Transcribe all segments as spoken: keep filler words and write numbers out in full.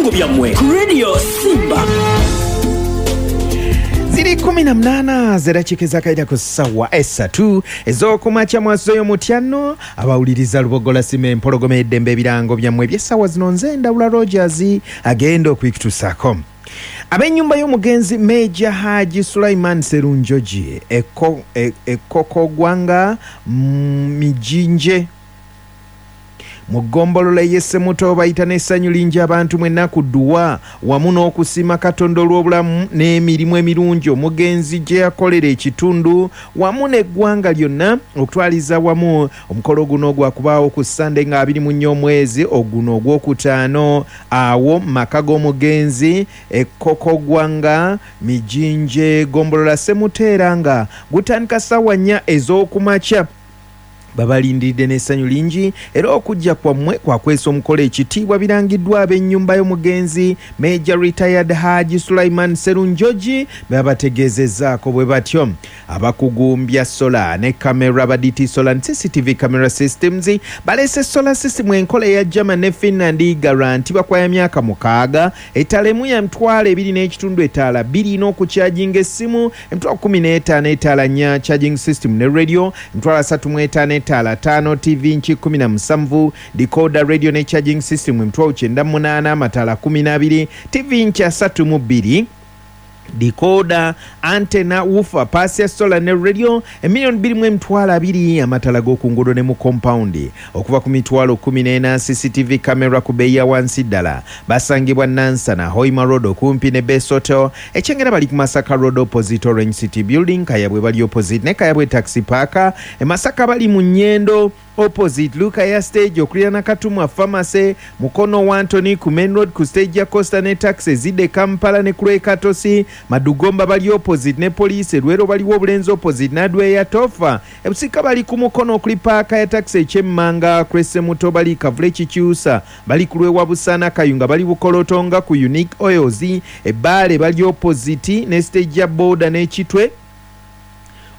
Ebirango byammwe ku Radio Simba. Ziri kumi na mnana zedakika ezakaida ku ssaawa esatu ez'okumakya. Mwasoyo mutyano abawuliriza Lubogola Sima Empologoma Eddembe. Ebirango byammwe eby'essaawa zino, nze Ndawula Rogers agenda okwikutusaako. Ab'ennyumba y'omugenzi Meja Haji Sulaiman Serunjogi Ekokogwanga Mijinje mu ggombolola ey'e Ssemuto bayita n'essanyu lingi abantu mwenna ku dduwa wamu n'okusiima Katonda olw'obulamu n'emirimu emirungi omugenzi gye yakolera ekitundu wamu n'eggwanga lyonna okutwaliza wamu. Omukolo guno gwakubaawo ku Ssande nga abiri mu nnya omwezi oguno ogwokutaano awo mu maka g'omugenzi Ekokogwanga Mijinje, ggombolola Ssemuto, nga gutandika ssaawa nnya ez'okumakya. Babalindiridde n'essanyu lingi era okujja kwammwe kwakwesa omukolo ekitiibwa. Birangiddwa ab'ennyumba y'omugenzi Major Retired Haji Sulaiman Serunjogi, babategeezezzaako bwe batyo. Abakugumbya solar ne kamera ba D T Solar and C C T V Camera Systems balese solar system enkola eya German ne Finland, guarantee bakwaya myaka mukaaga. Etaala emu ya mitwalo ebiri n'ekitundu, etaala bbiri n'okukyajinga essimu emitwalo kumi n'etaano, etaala nnya charging system ne radio emitwalo asatu mu etaano, etaala ttaano, T V nki kumi na musanvu, decoder, radio ne charging system emitwalo kyenda mu munaana, amataala kumi n'abiri, T V nki asatu mu bbiri, decoder, antenna, woofer, paasi ya solar ne radio emiliyoni bbiri mu emitwalo abiri, amatala g'oku nguudo ne mu compound okuva ku mitwalo kumi n'ena, C C T V camera ku bbeeyi ya wansi ddala. Basangibwa Nansana, Hoima Road, okumpi ne Best Hotel. Ekyengera bali ku Masaka Road, opposite Orange City Building. Kayabwe bali opposite ne Kayabwe Taxi Park. E Masaka bali mu Nyendo, opposite Luka ya stage okuliraana Katumwa Pharmacy, Mukono wa Antony ku main road ku stage ya Costa ne taxi ezidde Kampala ne kulwekatosi. Madugomba bali opposite ne poliisi. Erwero baliwo Obulenzi, opposite Nadweya Tofa. Ebusika bali ku Mukono okuli paaka ya taxi ekyemmanga. Kwesemuto bali Kavule Kikyusa, bali ku lwewa Busaana. Kayunga bali Bukolotonga ku Unique Oils. Ebbaale bali opposite ne stage ya boda n'Ekitwe,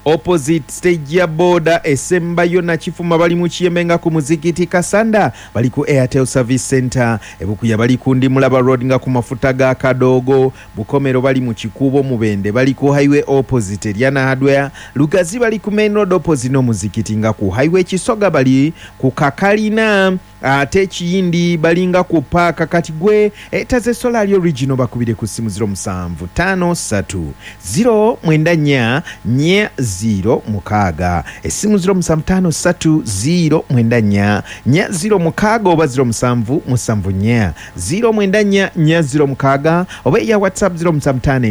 opposite stage ya boda esembayo. Nakifuma bali mu Kiyembe nga ku muzikiti. Kasanda bali ku Airtel Service Center. Ebukuya bali ku Ndimulaba Road nga ku mafuta ga Kadoogo. Bukomero bali mu Kikuubo. Mubende bali ku highway opposite Eryana Hardware. Lugazi bali ku main road opposite n'omuzikiti nga ku highway. Kisoga bali ku Kakalina, ate Ekiyindi balinga ku paaka. Kati gwe etaze solar original, bakubire ku simu zero musanvu ttaano ssatu zero mwenda nnya nnya zero mukaaga, essimu zero musanvu ttaano ssatu zero mwenda nnya nnya zero mukaaga oba zero musanvu musanvu nnya zero mwenda nnya nnya zero mukaaga oba eya WhatsApp zero musanvu ttaano emu.